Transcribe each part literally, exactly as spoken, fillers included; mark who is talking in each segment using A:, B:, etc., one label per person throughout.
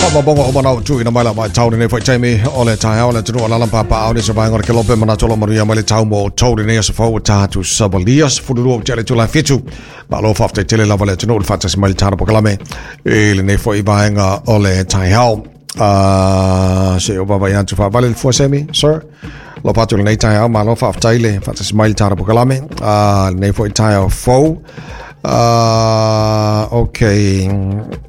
A: Whaamabonga o manau tu ina mai la mai tau nei foi taimi o le taeao le atunuu o lala papaau ni sa vaenga o le kelope manatu o lo manuia mai le tau mo tau nei aso fou ua tatou sabalia sefululua ua tea le itula e fitu. Malo faafetai tele lava le atunuu le faatasi mai le tana pokalame i lenei foi vaega o le taeao. Uh, se o vava atu faavale le fua semi, sir. Lo patu lenei taeao, malo faafetai le faatasi mai le tana pokalame. Uh, lenei foi taeao fou. Uh, okay.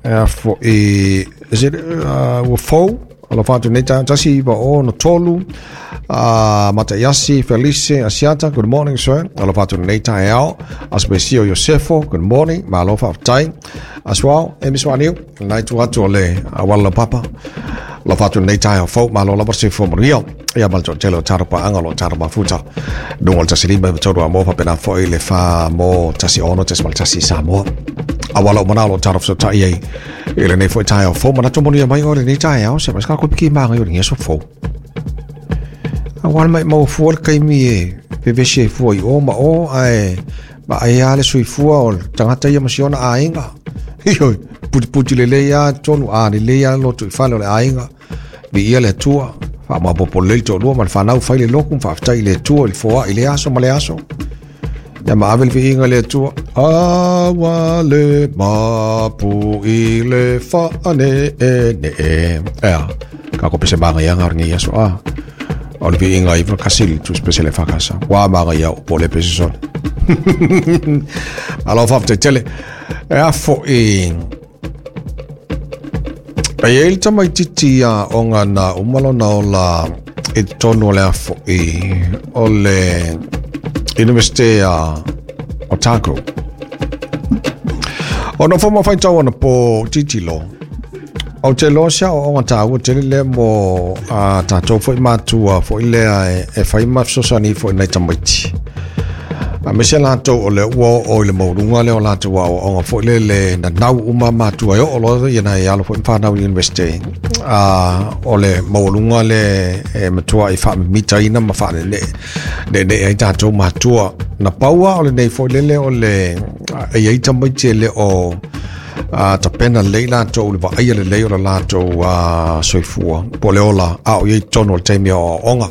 A: Uh, for, is it uh, ua fou? Alo fatu nei taeao tasi iwa ono tolu. Uh, Mataiasi, Felice, Asiata, good morning, sir. Alo fatu nei taeao. Aspesio Iosefo, good morning. Malo faafetai. Aswao, Emi Swaniu, nai tu atu o le awala papa. Lo fatu nei taeao fou, malo lava se fo manuia. Ia mal tele o taro pa anga lo taro mafuta. Nunga o tasi lima i tolu a mo papena foi le fa mo tasi ono tasi mal tasi Samoa. Awala o mana lo taro fso tai ei. I lenei foi taeao fou, manatu manuia mai o lenei taeao, se mas ka kupiki maanga i o lenei aso fou. Awala mai mau fua le kaimi e pevesi e fua i o ma o ae ma ai a le soifua o le tagata ia ma si ona aiga. Ioi, putiputi lelei a tonu a lelei a loto i fale o le aiga. Viia le Atua, faamaopoopo lelei le toalua ma le fanau fai le loku, faafetai i le Atua i le foaʻi le aso ma le aso. Ia ma ave le viiga i le Atua. Aua le mapu i le faaneenee. Ea, ka ko pese maga ianga o lenei aso a. O le viiga i kasili tu spesiale fakasa. Wa maga ia o po le pese sona. Alo faafetai tele. E a foʻi e iai le tamaititi a oga na uma lona ola i totonu o le afoʻi o le Universite a Otago. O nofo ma faitau ona po titilo. O te loa sia o onga tāua tele lea mo a tātou foi matua foi lea e, e whai ma fesoasoani foi nei tamaiti. A mese latou o le ua o i le mauluga lea o latou aoaoga foi le le nanau uma matua e oo loa ia nai alo foi ma fanau i le university. A o le maualuga le e matua i faamimitaina ma faaneenee neenee ai tatou matua. Na pau a o lenei foi lele o le e iai tamaiti e le o a tapena lelei latou le vaaia lelei o le latou a soifua po o le ola a o iai totonu o le taimi o aoaoga.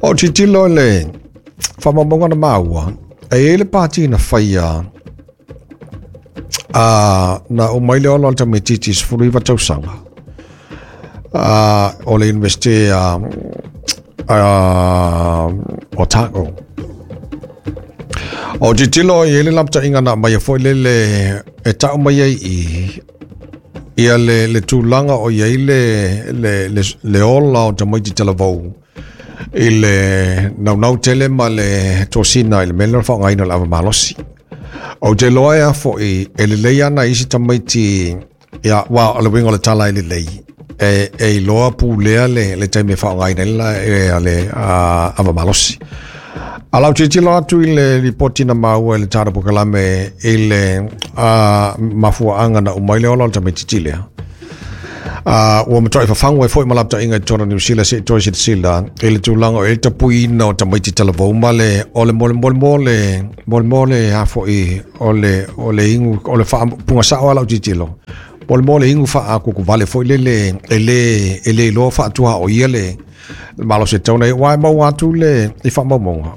A: O tilotilo le faamaumauga na maua e iai le pati na faia a na umai le ola o le tamaititi sefulu iva tausaga a o le University a a Otago. O tilotilo i le lapataiga na aumaia foi lele e tau mai ai i ia le, le tulaga o iai le, le, le, le ola o tamaiti talavou i le naunau tele ma le tosina i le mea lea o le faaaogaina o le ava malosi. Ou te iloa e a foʻi e lelei ana isi tamaiti ia ua o le uiga o le tala e lelei e, e iloa pulea le, le taimi e faaaogaina ai la e, le a, ava malosi. Ala o tilotilo atu i le lipoti na maua i le tala pokalame i le uh, mafuaaga na umai le ola o le tamaititi lea. Uh, ua matuai fafagu ai foi ma lapataiga i totonu o Niu Sila seʻi toe silasila i le tulaga o i le tapuiina o tamaiti talavou ma le o le molemolemole molemole a foʻi o le o le igu o le faapuga sao ala o tilotilo molemole igu faakukuvale foi lele e lē e lē iloa faatuaoia le malosi e tauna ai ua e maua atu le i faamaumauga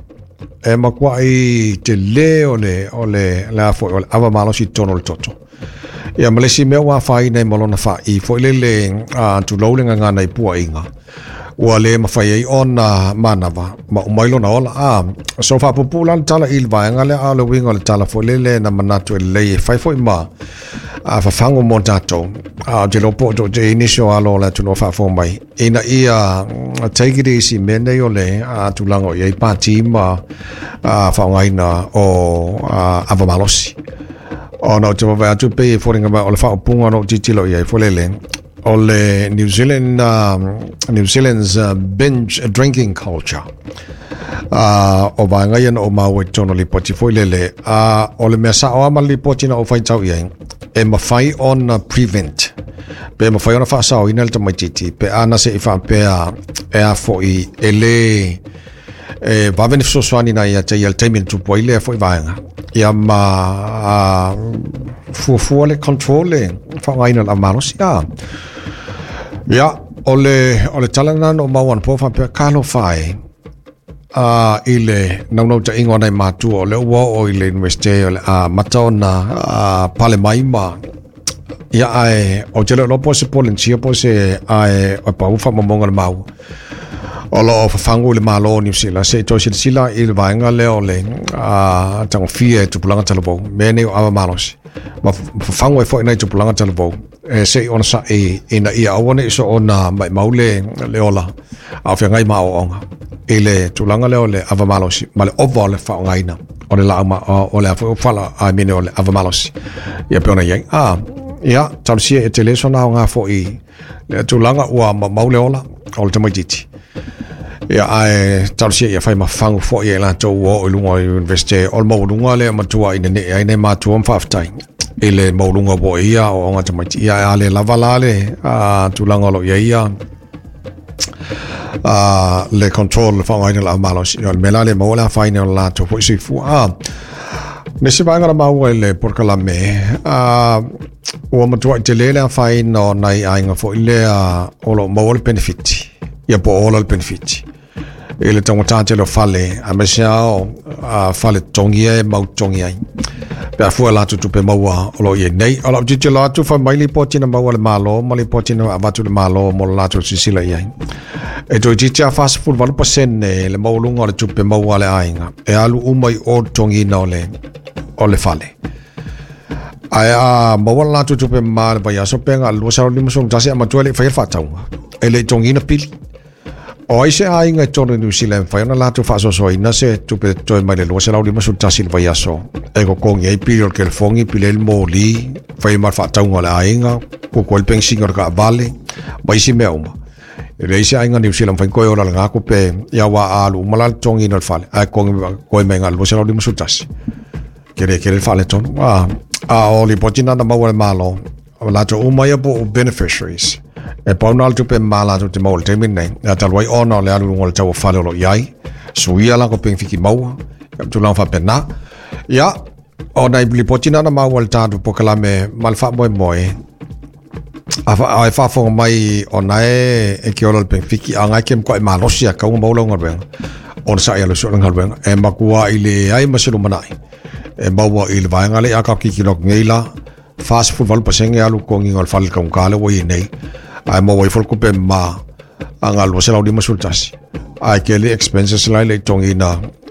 A: e matuai telē o le o le le a foʻi o le ava malosi i totonu o le toto. Ia ma le isi mea ua afaina ai ma lona fa'i foi lele a tulou le gagana i puaʻiga ua lē mafai ai ona manava ma umai lona ola a so faapuupuu la le tala i le vaega lea a o le uiga o le tala foi lele na manatu e lelei e fai foi ma a fafagu mo tatou a ou te iloa po o toʻatē nisi o alo o le atunuu faafofoga mai ina ia take it easy mea nei o le a, tulaga o iai pati ma a, faaaogaina o a, ava malosi. Ona ou te vaavaai atu pei e foliga mai o le faaupuga na ou tilotilo i ai foi lele o le New Zealand um, New Zealand's uh, binge drinking culture. Uh, o vaega ia na ou maua i totonu o lipoti foi lele. Uh, o le mea sao a ma le lipoti na ou faitau i ai, e mafai ona prevent pe mafai ona faasaoina le tamaititi pe ana se i faapea e a foʻi e lē e vave ni fesoasoani na ia te ia le taimi na tupu ai lea foi vaega ia ma a, fuafua le control le faaaogaina o le ava malosi a. Ia o le o le tala na no mau ana po faapea talofa e a i le naunautaiga o nai matua o le ua oo i le Iunivesite o le amata ona pale mai ma ia ae ou te le o iloa po o se volunteer po o se ae o pau faamaumauga o le maua o loo fafagu i le Malo o Niu Sila se i toe silasila i le vaega lea o le tagofia e tupulaga talavou mea nei o ava malosi ma fafagu ai foi nai tupulaga talavou e se i ona sa'i ina ia aua nei soona maimau le le ola a o feagai ma aoaoga i le tulaga lea o le ava malosi ma le ova o le faaaogaina o le laau o le a foi o fala I mean o le ava malosi ia pe ona i ai a ia talosia e tele sona aoga foi le tulaga ua maumau le ola o le tamaitiiti ia ae talosia ia fai mafagu foi e latou ua oo i luga o le Iunivesite o le maualuga lea matua ina nee ai nai matua ma faafetai i le maualuga ua ia aoaoga tamaiti ia ae a le lava la le tulaga o lo o i ai ia Uh, le control le faaaogaina o le ava malosi o le mea la le maua le afaina o le latou foi soifua a nisi vaega na maua i le polokalame uh, ua matuai tele le afaina o nai aiga foi lea o loo maua le benefiti ia po o ola le benefiti i le taugata tele o fale aemaise lava o uh, fale totogi e mau totogi ai pe a fua latou tupe maua o loo i ai nei o lau tilotilo atu fai mai lipoti na maua le Malo ma lipoti na avatu le Malo mo le latou silasila i ai e toeitiiti lava fasefulu valu pasene le maualuga o le tupe maua a le aiga e alu uma i o le totogiina o le o le fale ae a maua le latou tupe ma le vaiaso pe ga lua selau lima sefulu ma tasi a matua e le i faia le faatauga e le i totogiina pili o ai se aiga i totonu i Niu Sila e mafai ona latou faasoasoaina se tupe totoe mai le lua selau lima sefulu tasi i le vaiaso e totogi ai pili o le kelefogi pili ai le moli fai ma le faatauga o le aiga kuku ai le penisini o le taavale ma isi mea uma e leai se aiga Niu Sila mafai ona toe ola i lena tupe ia ua a alu uma la le totogiina o le fale ae totogi mai ga lua selau lima sefulu tasi kele kele le faaletonu a a o lipoti na na maua e le Malo o latou uma ia po o beneficiaries e pau na o le tupe ma latou te maua i le taimi lenei e talu ai ona o le alu i luga o le tau o fale o lo o i ai suia latou penefiti maua ia ma tulaga faapena ia o nai lipoti na na maua i le tatou polokalame ma le faamoemoe a e faafofoga mai ona e e ke ola le penefiti a ngai ke matuai malosi a tatau ona maua lau galuega ona sa'i alu sue o le galuega e matua i le ai ma se lumanai e maua i le vaega lea a tatou tilotilo atu nei la fasefulu valu pasene alu totogiina o le fale i le taugata lea ua i ai nei ae maua ai foi le tupe ma aga lua selau lima sefulu tasi ae tele expenses la e le i totogiina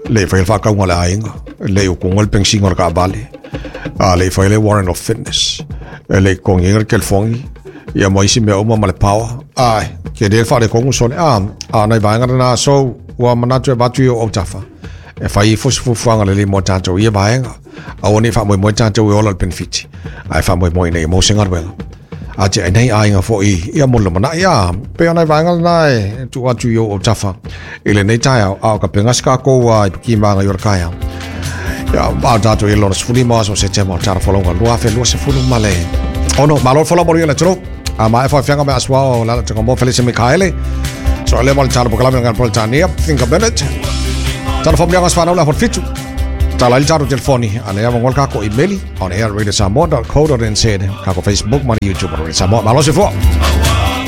A: le i faia le faatauga a le aiga le i utuga le penisini o le taavale a le i faia le warrant of fitness e le i totogiina le telefoni ia ma isi mea uma ma le power ae tele le faaletonu sole a a nai vaega lena so ua manatu e avatu i ou autafa e fai ifo se fuafuaga lelei mo tatou ia vaega aua nei faamoemoe tatou e ola le benefiti ae faamoemoe ina ia maua se galuega a te ai nei aiga foi ia mo le lumanai a pei o nai vaega lena e tuu atu i ou autafa i lenei taeao a o ka pega se tatou i pakimaga i o le taeao ia a tatou i lona sefululima o aso o Setema o le tala folauga lua afe lua sefulu ma le ono malo le folau manuia le atunuu a maea faafiaga me asuao o le ala tagamo Felise Mikaele so le mo le tala pokalame ngā Politania think a minute tala faamuliaga aso fanau le afa fitu tala i le tatou telefoni a le avanoa le kako imeli on air radio samoa dot co dot nz kako Facebook ma le YouTube Radio Samoa malo se fua.